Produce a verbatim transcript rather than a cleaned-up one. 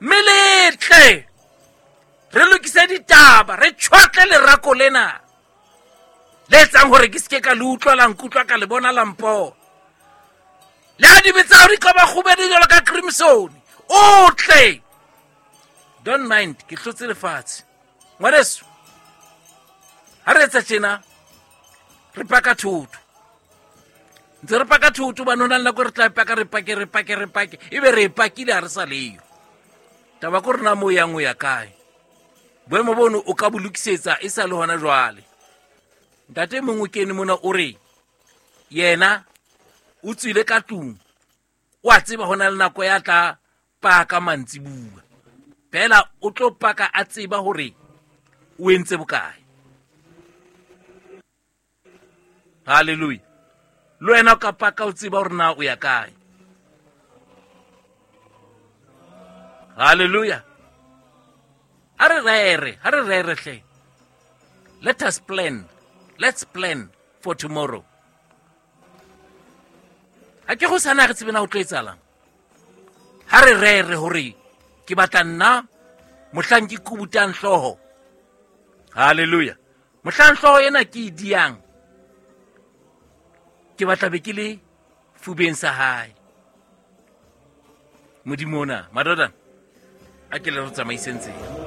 Mme le tle re lokise ditaba, re tjhwatle lerako lena le etsang hore ke seke ka le utlwa, la nkutlwa, ka le bona, la mpona. Le ha dibe tsa hao di ka ba kgubedu jwalo ka crimson, o tle. Don't mind, ke hlotse lefatshe. Ngwaneso, ha re etsa tjena, re paka thoto. Ntse re paka thoto hobane ho na le nako re tla paka, re pake, re pake, re pake, ebe re e pakile ha re sa leyo. Taba ke hore na moo o yang o ya kae. Boemo bono o ka bo lokisetsa e sa le hona jwale. Ntate e mong o kene mona o re yena o tswile ka tlung, o a tseba ho na le nako ya tla paka mantsibuya. Fela o tlo paka a tseba hore o entse bokae. Hallelujah. Le wena o ka paka o tseba hore na o ya kae. Hallelujah. Ha re rere, ha re rere hle. Let us plan. Let's plan for tomorrow. Ha ke go sana re tsebe na o tlo etsahalang. Ha re rere hore ke batla nna mohlang ke kubutang hlooho. Hallelujah. Mohlang hlooho ena ke e diang, ke batla be ke le fubeng sa hae. Modimo ona, madodana, a ke le re tsamaiseng tsela.